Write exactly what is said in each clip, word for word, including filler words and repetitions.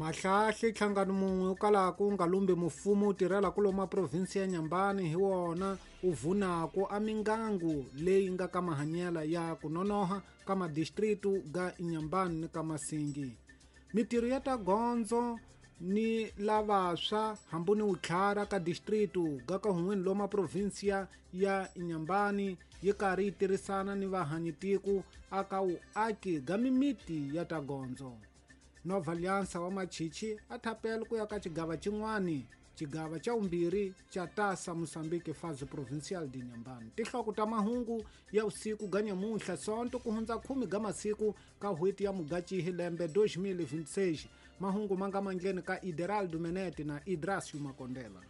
Mahlahli nhlangano mun'we wu kalaka wu nga lumbi mfumo wu tirhela ku loma provinsi ya Nyambani hi wona wu vunako a mingangu leyi nga ka mahanyela ya ku nonoha ka madistritu ga Inhambane ni ka Masingi. Mitirho ya ta gondzo ni lavaswa hambu ni wutlhara ka distritu ga ka hun'weni loma provinsia ya Inhambane yi karhi yi tirhisana ni vahanyitiku aka wuaki ga mimiti ya ta gondzo. Nova Aliança wa Machichi a thapela ku ya ka xigava xin'wani xigava xa vumbirhi xa Taça Moçambique fase provincial de Inhambane. Tinhloko ta mahungu ya usiku ga nyamuntlha Sonto ku hundza khume ga masiku ka n'hweti ya Mugachihi lembe dois mil e vinte e seis. Mahungu ma nga mandleni ka Ideraldo Menete na Idracio Makondela.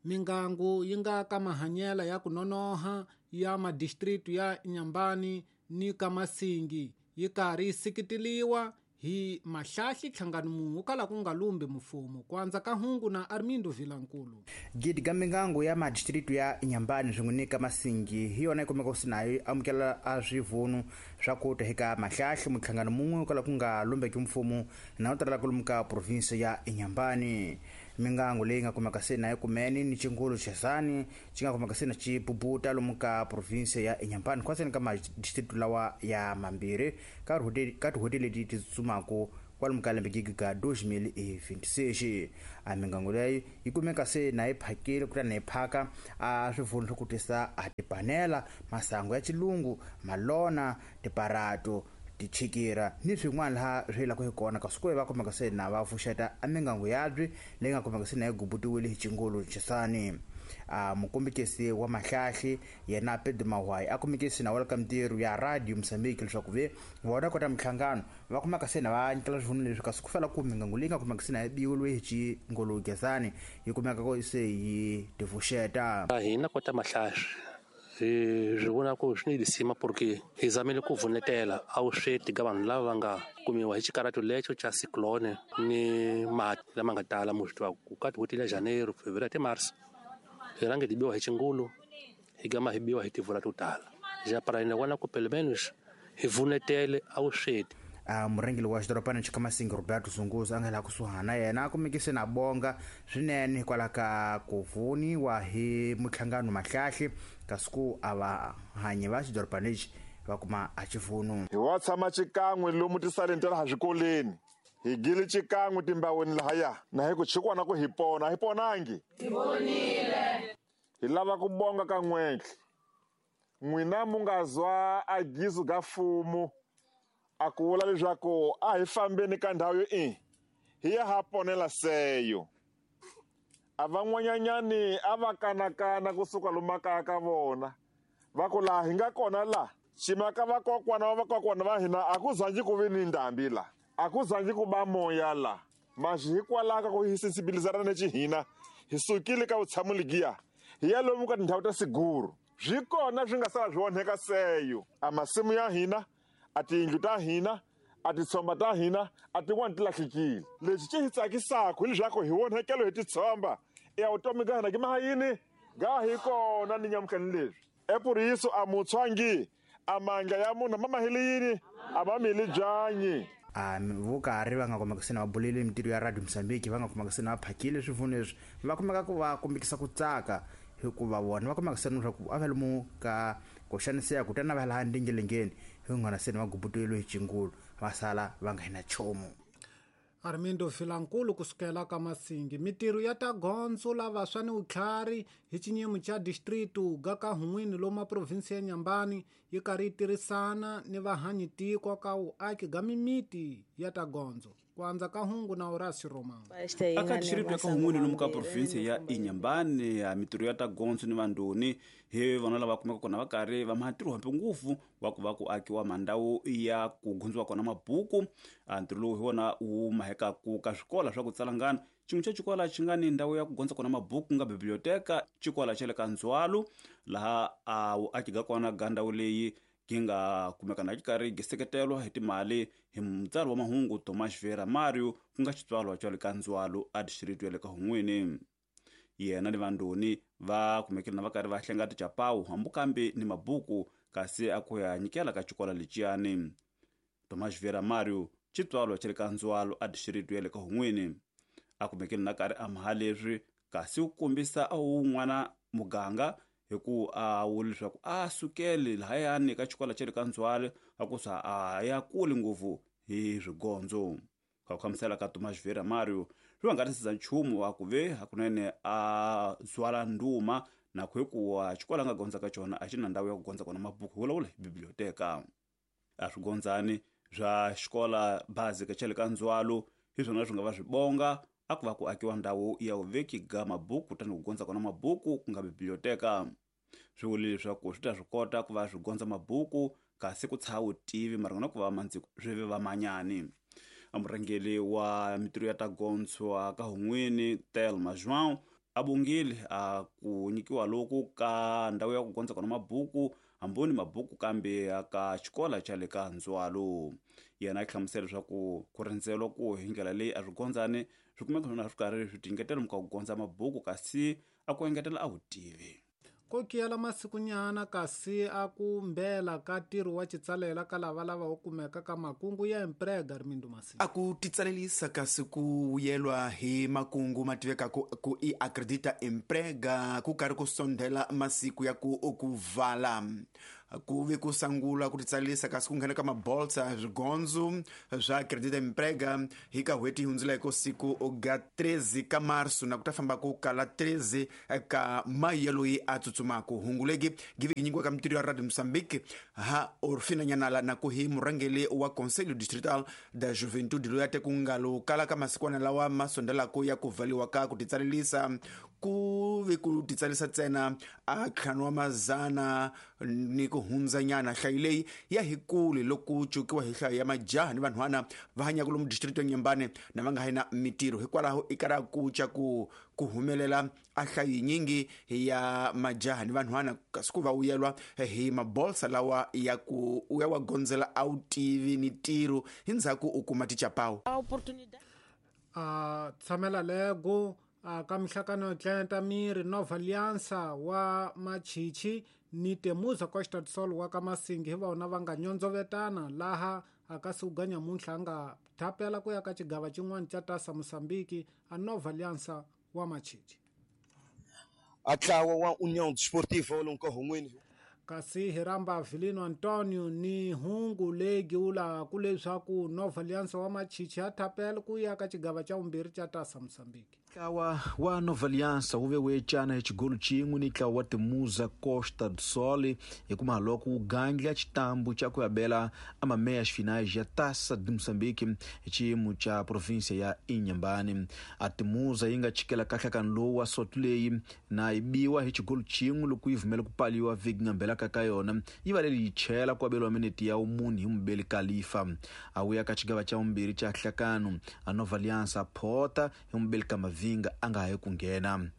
Mingangu yi nga ka mahanyela ya ku nonoha ya madistritu ya Inhambane ni ka Masingi yi karhi yi seketeliwa hi Mahlahli nhlangano mun'we wu kala ku nga lumbi mfumo. Ku andza ka hungu na Armindo Vilankulu. Gidi ga mingangu ya madistritu ya Inhambane swin'we ni ka Masingi hi yona yi kumeka ku nayo yi amukela a swivunu swa ku ta eka Mahlahli muhlangano mun'we wu kala ku nga lumbeki mfumo na wu tirhela kwalomu ka provinsi ya Inhambane. Mingangu leyi nga kumeka se na yi kumene ni xingulu xesani xi nga kumeka se na xi bubuta lomu ka provinsi ya Inhambane khwaseni ka madistritu lawa ya mambirhi ka ka tin'hweti leti ti tsutsumaka kwalomu ka lembe gigi ka dois mil e vinte e seis. A mingangu leyi yi kumeka se na yi phakile kutani yi phaka a swivunu swo ku tisa a tipanela, masangu ya xilungu, malona, tiparato, tichikira ni swin'wana laha swi yelaka hi kona kasi ku va kumeka se na va pfuxeta a mingangu yabyi leyi nga kumeka se na yi gubutiwile hi xingulu xisani. A mukombekisi wa Mahlahli yena Pedro Mahwayi a kumekisi na wa ka mintirho ya Radio Moçambique leswaku ve vona kota minhlangano va kumeka se na va nyikela swivunu leswi kasi ku fela ku mingangu leyi nga kumeka se na yi biwile hi xingulu xisani yi kumeka ko se yi tivuxeta. Hina kota Mahlahli hi swi vona ku swi ni lisima porque hi zamile ku vunetela a vusweti ka vanhu lava va nga kumiwa hi xikarato lexo xa cyclone ni mati lama nga tala mu swi tiva ku ka tin'hweti la Janeiro, Fevereiro te Março hi rhange hi biwa hi xingulu hi gama hi biwa hi tivula to tala ja para hina vona ku pelo menos hi vunetele a vusweti. A murhangeri wa xidorobana xa Masingi Roberto Zunguza a nga laha kusuhana yena a kumekise na bonga swinene hikwalaho ka ku vuniwa hi muhlangano Mahlahli kasi ku a va hanyi va xidorobana lexi va kuma a xivunu. Hi wa tshama xikan'we lomu tisaleni ta laha swikoleni hi gile xikan'we timbaweni lahaya na hi ku chikwana ku hi pona hi ponangi hi ponile. Hi lava ku bonga ka n'wentlhe n'wina mu nga zwa a gizu ga fumu a ku vula leswaku a hi fambeni ka ndhawu yo i hi ya ha ponela seyo. A van'wanyanyani a va kanakana kusuka lomu makaya ka vona va ku laha hi nga kona la ximaka vakokwana va vakokwana va hina a ku zangi ku vi ni ndhambi la a ku zangi ku ba moya la maxi hikwalaho ka ku hi sensibilizana ni xihina hi sukile ka vutshamo legiya hi ya lomu ka tindhawu ta siguru swi kona swi nga sala swi onheka seyo. A masimu ya hina a tiyindlu ta hina a titshomba ta hina a tin'wani ti lahlekile. Lexi xi hi tsakisaka hileswaku hi onhekelo hi titshomba ya vutomi ga hina ki maha yini ga hi kona ni nyamutlhani leswi epuriso a mutshwangi a mandla ya munhu ma mahile yini a ma mili byanyi. A vo karhi va nga kumeka se na va bulele mintirho ya Radio Moçambique va nga kumeka se na va phakile swivunu leswi va kumeka ku va kombekisa ku tsaka hikuva vona va kumeka se na leswaku a va lomu ka ku xaniseka kutani va laha ndingelengeni hi n'wana se na va gubuteliwe hi xingulu va sala va nga hina nchumu. Armindo Vilankulu kusukela ka Masingi. Mitirho ya ta gondzo lavaswa ni wutlhari hi xinyimo xa distritu ga ka hun'wini loma provinsi ya Inhambane yi karhi yi tirhisana ni vahanyitiko ka wuaki ga mimiti ya ta gondzo. Ku andza ka hungu na Horacio Romão. Aka distritu ya ka hun'wini lomu ka provinsi ya Inhambane ya mitirho ya ta gondzo ni vandoni hi vona lava kumeka kona va karhi va matirho hambi ngopfu wa ku va ku akiwa mandhawu ya ku gondziwa kona mabuku. A ntirho lowu hi wona wu mahekaku ka swikola swa ku tsalangana xin'we xa xikola xi nga ni ndhawu ya ku gondza kona mabuku ku nga biblioteka xikola xa le ka Ndzwalo laha a wu aki ga kona ga ndhawu leyi gi nga kumeka na xi karhi gi seketelwa hi timali hi mutsari wa mahungu Thomas Vera Mario ku nga xitswalwa xa le ka Ndzwalo a district ya le ka Hun'wini. Yena ni vandoni va kumekile na va karhi va hlenga tichapawu hambi kambe ni mabuku kasi a ku ya nyikela ka xikolo leciyani. Tomás Vieira Mario xitswalo xa le ka Ndzwalo a distrito ya le ka Hun'wini a kumekile na karhi a maha leswi kasi ku kombisa a wun'wana muganga hi ku a wuli leswaku a sukele lahayani ka xikolo xa le ka Ndzwalo a ku sa a ya kuli ngopfu hi swigondzo. Ka ku hlamusela ka Tomás Vieira Mario swi va nga tisiza nchumu wa ku ve hakunene a zwala nduma na ku hikuva xikolo a nga gondza ka xona a xi na ndhawu ya ku gondza kona mabuku hi vulavula hi biblioteka. A swigondzani swa xikola basic xa le ka Ndzwalo hi swona swi nga va swi bonga a ku va ku akiwa ndhawu ya vuveki ga mabuku kutani ku gondza kona mabuku ku nga biblioteka. Swi vule leswaku swi ta swi kota ku va swi gondza mabuku kasi ku tshaha vutivi mara na ku va mandziko swi ve va manyani. A murhangeri wa mitirho ya ta gondzwa ka Hun'wini Thelma João a bongile a ku nyikiwa loku ka ndhawu ya ku gondza kona mabuku hamboni mabuku kambe ka xikolo xa le ka Ndzwalo. Yena a hlamusela leswaku ku rindzela ku hi ndlela leyi a swi gondzani swi kumeka swona swi karhi swi tingetela muka ku gondza mabuku kasi a ku engetela a vutivi. Ko kiyela masikunyana kasi a ku mbela ka ntirho wa xitsalela ka lava lava wu kumeka ka makungu ya emprega Rimindo Masi. A ku titsalelisa kasi ku vuyelwa hi makungu ma tiveka ku, ku i acredita emprega ku karhi ku sondela masiku ya ku ku vala ku ve ku sangula ku titsalisa kasi ku nghena ka mabolsa swigondzo swa acredita emprega hi ka n'hweti yi hundzuleke siku ga treze ka marso na ku ta famba ku kala treze ka mayi loyi a tsutsumaka. Hunguleki give nyikiwa ka mitirho ya Radio Mozambique ha Orfina Nyanala na ku hi murhangeri wa Conselho Distrital da Juventude loyi a te ku nga lo kala ka masikwana lawa ma sondelaka ya ku valiwa ka ku titsalelisa ku ve ku titsalisa ntsena a ntlhanu wa mazana ni ku hundzanyana. Nhlayo leyi ya hi kule loko cukiwa hi nhlayo ya majaha ni vanhwana va hanyaka lomu distrito ya Nyambane na va nga ha na mitirho. Hikwalaho i kara ku ca ku ku humelela a nhlayo yinyingi ya majaha ni vanhwana kasi ku va vuyelwa hi mabolsa lawa ya ku u ya wa gondzela a wu tivi ni ntirho hi ndzhaku u kuma tichapawu. A tshamela lego a ka mihlakano tlenta miri Nova Aliança wa Machichi ni Temuza Costa do Sol wa ka Masingi hi vona va nga nyondzovetana laha a ka suga nyamuntlha a nga thapela ku ya ka xigava xin'wana xa Tasa Mozambique a Nova Aliança wa Machichi. A ntlawa wa União Desportiva lomu ka Hun'wini kasi hi ramba Vilino Antonio ni hungu leyi giwula ku leswaku Nova Aliança wa Machichi a thapela ku ya ka xigava xa vumbirhi xa Tasa Mozambique. Ntlawa wa Nova Aliança wu ve wu ecana hi xigolo xin'we ni ntlawa wa Temuza Costa do Sol hi kuma loko wu gandla xitambu xa ku ya bela a mameias finais ya Taça de Moçambique hi xiyimo xa província ya Inhambane. A Temuza yi nga chikela kahlakano lowu wa soto leyi na yi biwa hi xigolo xin'we loko yi vumela ku paliwa vhiki nga mbela ka ka yona yi va leyi chela ku abeliwa minete ya umuni hi mubeli Khalifa. A wu ya ka xigava xa vumbirhi xa hlakano a Nova Aliança phota hi mubeli ka Mavinga a nga ha yi ku nghena.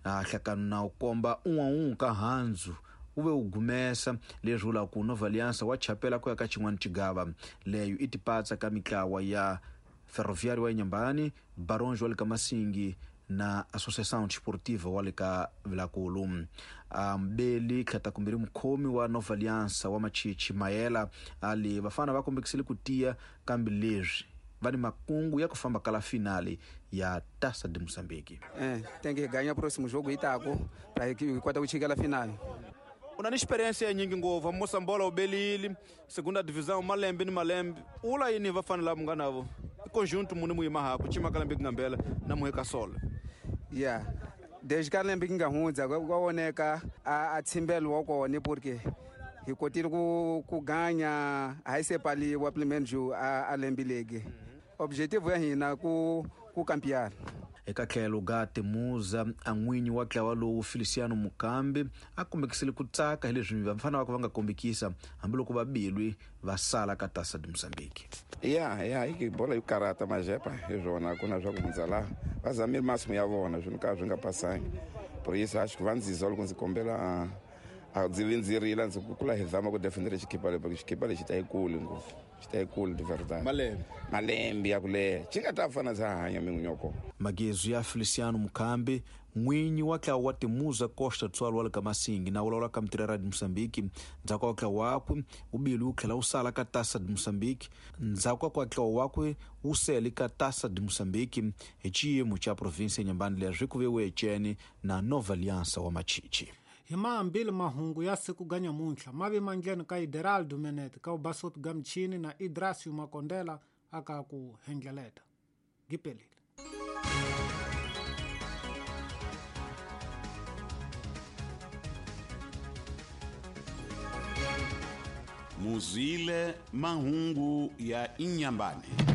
A hlakano na wu komba un'we un'we ka handzu wu ve wu gumesa leswi vulaka ku Nova Aliança wa chapela ku ya ka xin'wana xigava. Leyo i tipatsa ka mitlawa ya Ferroviário wa Inhambane, Baronjo wa le ka Masingi na Associação Desportiva wa le ka Vilakulu. Mbeli tlhatakumbirhi mukhomi wa Nova Aliança wa Machichi Mayela ali vafana va kombekisile ku tiya kambe leswi va ni makungu ya ku famba kala finale ya Taça de Moçambique. Eh, tem que ganhar o próximo jogo itako para que kota ku chikela finale. Una ni experiência ya nyingi ngopfu Mosambola u belile segunda divisão malembe ni malembe ula yini va fanele lava nga navo i conjunto muni mu yima ha ku chima kalembe ku ngambela na muheka solo. Yeah, desde kalembe ku nga hundza kwa voneka a a tsimbelo wa kona porque hi kotile ku ku ganya a hi se paliwa pelo menos a a lembe legi. Objetivo ya hina ku ku campear. Eka tlhelo ga Temuza a n'winyi wa ntlawa lowu Feliciano Mukambi a kombekisile ku tsaka hi leswi vafana va va nga kombekisa hambiloko va bilwi va sala ka Taça de Moçambique. Ya ya i bola yo karata majepa hi swona ku na swa ku hundza laha va zamile masimu ya vona swi ka swi nga pasangi. Por isso acho que va ndzi loko ndzi kombela a ndzi vi ndzi rila ndzi ku kula hi zama ku defendera xikipa leyi porque xikipa lexi ta yi kuli ngopfu xi ta yi kuli de verdade. Malembe malembe ya ku leha xi nga ta fana ndza hanya min'winyoko. Magezu ya Feliciano Mukambi N'winyi wa ntlawa wa Timuza Costa do Sol wa le ka Masingi na vulavula ka Mitirho ya Radio Mozambique ndzhaku ka ntlawa wakwe wu bile wu tlhela wu sala ka Taça de Moçambique ndzhaku ka ntlawa wakwe wu sele ka Taça de Moçambique hi xiyimo xa provinsi ya Inhambane leswi ku vewe ecene na Nova Aliança wa Machichi. Hi maambili mahungu ya siku ga nyamuntlha mavi mandleni ka Ideraldo Menet ka ubasopi ga mchini na Idrasio Makondela aka ku hendleleta. Gipelile. Muzwile mahungu ya Inhambane.